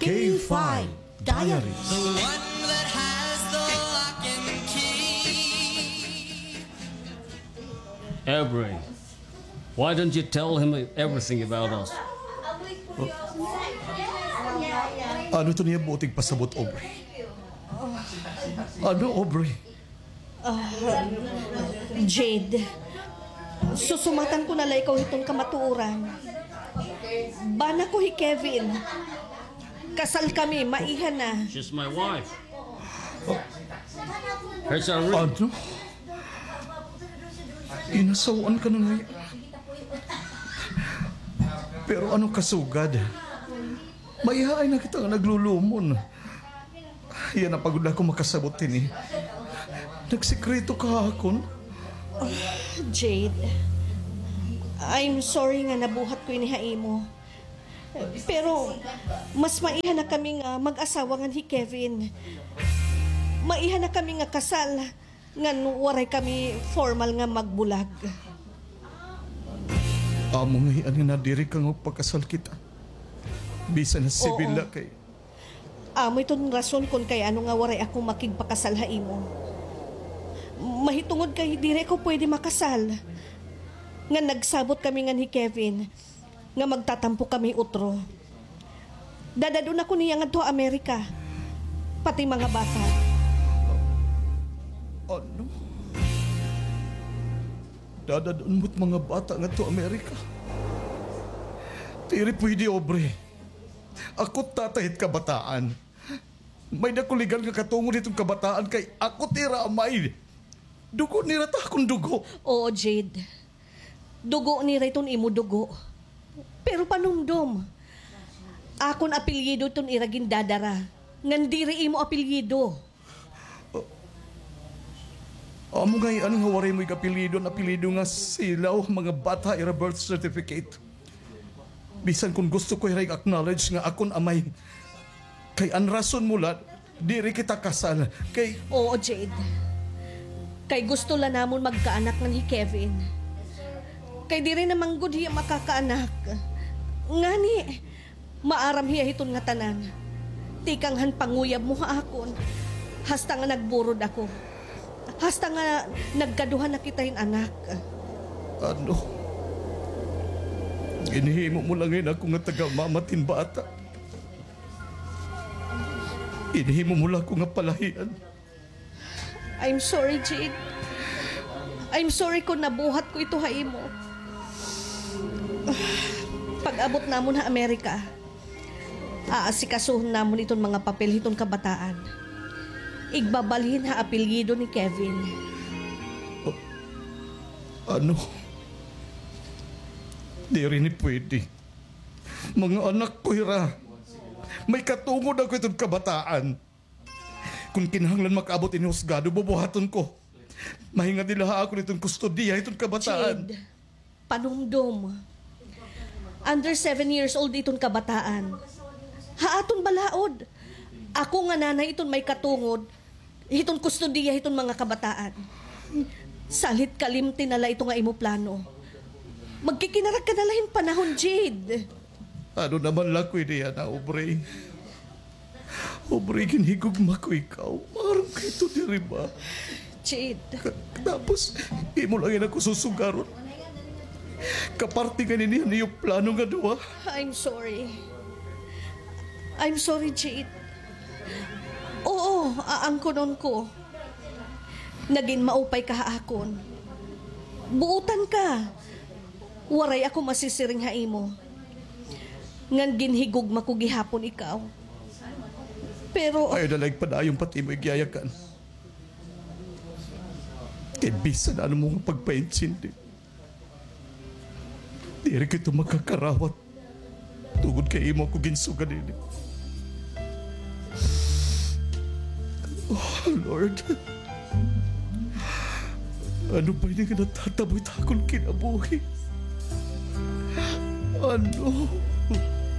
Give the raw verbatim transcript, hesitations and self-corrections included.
K five Diaries. The one that has the lock and key. Aubrey, why don't you tell him everything about us? Ano ito niya buot igpasabot, Aubrey? Ano, Aubrey? Ah, Jade, susumatan ko na la ikaw hiton kamatuoran. Bana ko hi Kevin. Kasal kami, maiha na. She's my wife. Here's a ring. Ano? Inasaw-an ka na ngay-an. Pero ano kasugad? Maihaay na kita nga naglulumon. Yana pa gud ako makasabot hini. Nagsikreto ka ha akon? Ah, Jade, I'm sorry nga nabuhat ko ini ha imo. Pero mas maiha na kami nga mag-asawa ngan hi Kevin. Maiha na kami nga kasal ngan waray kami formal nga magbulag. Amo ngay-an nga nadiri ka nga magpakasal kita. Bisan ha sibil la kay Amo iton rason kon kay ano nga waray ako makigpakasal ha imo. Mahitungod kay diri ako pwede makasal. Nga nagsabot kami ngan hi Kevin nga magtatampo kami utro. Dadad-on ako niya ngadto ha Amerika. Pati mga bata. Ano? Dadad-on mo't mga bata ngadto Amerika? Diri pwede, Aubrey. Ako tatay hit kabataan. May-ada ko legal nga katungod hiton kabataan kay ako it ira amay. Dugo nira it akon dugo. Oo, Jade. Dugo nira iton imo dugo. Pero panumdom. Akon apelyido iton ira gindadara. Ngan diri imo apelyido. Amo ngay-an nga waray mo igapelyido an apelyido nga silaw, mga bata ira birth certificate. Bisan kon gusto ko hira i-acknowledge nga akon amay. Kay an rason mo la, diri kita kasal. Kay Oo, Jade. Kay gusto la namon magkaanak ngan hi Kevin. Kay diri na man gud hiya makakaanak. Ngani, maaram hiya hiton ngatanan. Tikang han panguyab mo ha akon. Hasta nga nagburod ako. Hasta nga nagkaduha na kita hin anak. Ano? Ginhimo mo la ngay-an ako nga taga-mama tin bata. Ginhimo mo la ako nga palahian. I'm sorry, Jade. I'm sorry kon nabuhat ko ito ha imo. Pag-abot namon ha Amerika, aasikasuhon namon iton mga papel hiton kabataan. Igbabalhin ha apelyido ni Kevin. Ano? Diri ini pwede. Mga anak ko hira. May katungod ako hiton kabataan. Kon kinahanglan makaabot ini husgado, bubuhaton ko. Mahingadi la ha akon iton kustodiya hiton kabataan. Jade, panumdom. Under seven years old iton kabataan. Ha aton balaod. Ako nga nanay iton may katungod hiton kustodiya hiton mga kabataan. Salit kalimti na la ito nga imo plano. Magkikinarag ka na la hin panahon, Jade. Ano naman la ko ini yana, Aubrey? Aubrey, ginhigugma ko ikaw. Maaram ka ito, diri ba? Jade. Ka-, tapos, imo la yana ako susugaron. Kaparte ngani niyan iyo plano nga duha. I'm sorry. I'm sorry, Jade. Oo, aangkonon ko. Nagin maupay ka ha akon. Buotan ka. Waray ako masisiring ha imo. Ngan ginhigugma ko gihapon ikaw. Pero Ayaw na la igpadayon pa it imo igyayakan. Kay bisan ano mo nga pagpaintindi, diri ko ito makakarawat. Tungod kay imo ako ginsugad ini. Oh, Lord. Ano ba ini nga natatabo hit akon kinabuhi? Ano?